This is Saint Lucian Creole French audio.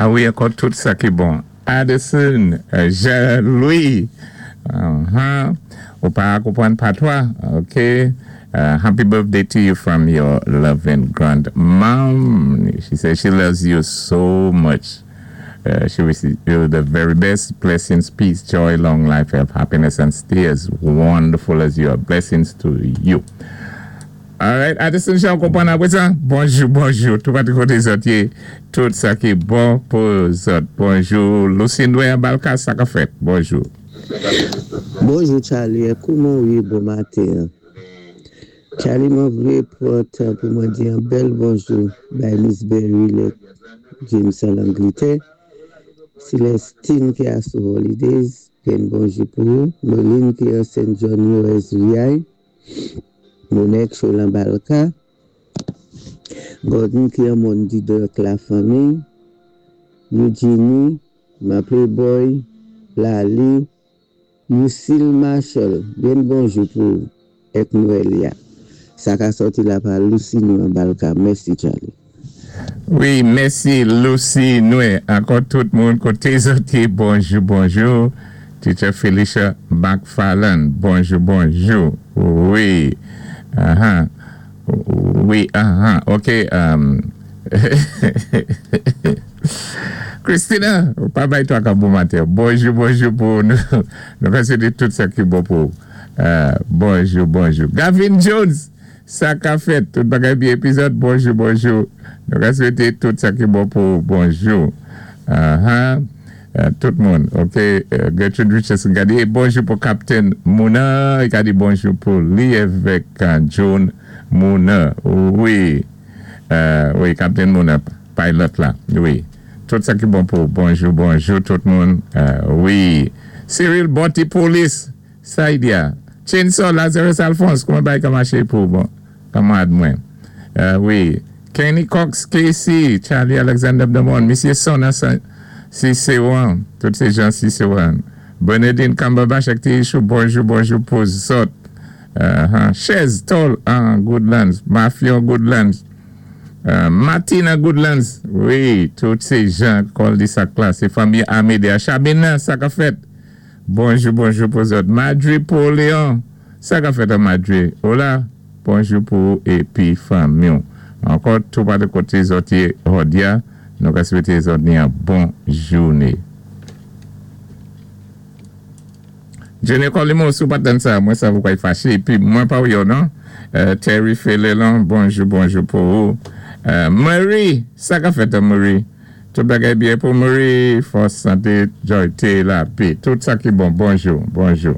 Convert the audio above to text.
A wi, ankò tout sa ki bon. Addison Jean Louis, Ou pa konpwann patwa, ok. Happy birthday to you from your loving grandmom. She says she loves you so much. She wishes you the very best. Blessings, peace, joy, long life, health, happiness, and stay as wonderful as you are. Blessings to you. Alright, Addison Jean, konpwann apwé sa? Bonjou, bonjou. Tou pati koté zòt yé, tout sa ki bon pou zòt. Bonjou, Lucindwe Balka, sa ka fèt? Bonjou. Bonjou Charlie, kouman ou yé bon maten an? Charlie, mwen vlé pwan tan pou mwen di yon bèl bonjou bay Miss Berry lèt James an Langletè, Celestine ki a sou holidays, byen bonjou pou ou, Noline ki an St. John USVI, Monek Cholan Balka, Gordon ki an Mòn Didor ak la fanmi, Eugenie, ma Playboy, Lali, Lucille Marshall, byen bonjou pou ou èk Noelia. Sa ka sòti la pa Lucie nou an Balka. Mèsi Charlie. Wi, mèsi Lucie Noue. Ankò tout moun koté zòt yé, bonjou bonjou. Teacher Felicia McFarland, bonjou bonjou. Wi, ahan, wi, ahan, ok. Christina, ou pa bay twaka bon maten. Bonjou bonjou pou nou. Nou ka swété tout sa ki bon pou ou. Bonjou bonjou. Gavin Jones! Sa ka fèt, tout bagay byen epizòd bonjou bonjou nou ka swete tout sa ki bon pou ou bonjou ahaa tout moun ok Gertrude Richardson gade bonjou pou Captain Mouna li ka di bonjou pou li evèk John Mouna wi wi Captain Mouna pilot la wi tout sa ki bon pou ou bonjou bonjou tout moun wi Cyril bon ti polis. Saidia, Chainsaw Lazarus Alphonse kouman bagay ka maché pou bon kanmarad mwen wi Kenny Cox KC Charlie Alexander Bdamon misyé son nan Ciceron tout sé jan Ciceron Bernadine Cumberbatch ak ti Ichou bonjou bonjou pou zòt Chèz Tòl an Goodlands Mafyon Goodlands Mati nan Goodlands wi tout sé jan kòldisak la sé fanmi Amédée a Chabine sa ka fèt. Bonjou bonjou pou zòt Madri pou Leon sa kap fèt an Madri hola bonjou pou ou epi fanmiw ankò tou pale kote zòt ye hòdya nou ka swete zòt ni an bon joune Junior Colimo si w pat tann sa mwen sav ou pral fache epi mwen pa wè w non Terry Felelon bonjou bonjou pou ou Murray sa kap fèt an Murray. Tout bagay byen pou Murray, fòs, sante, joy, te, lapé, tout sa ki bon. Bonjou, bonjou.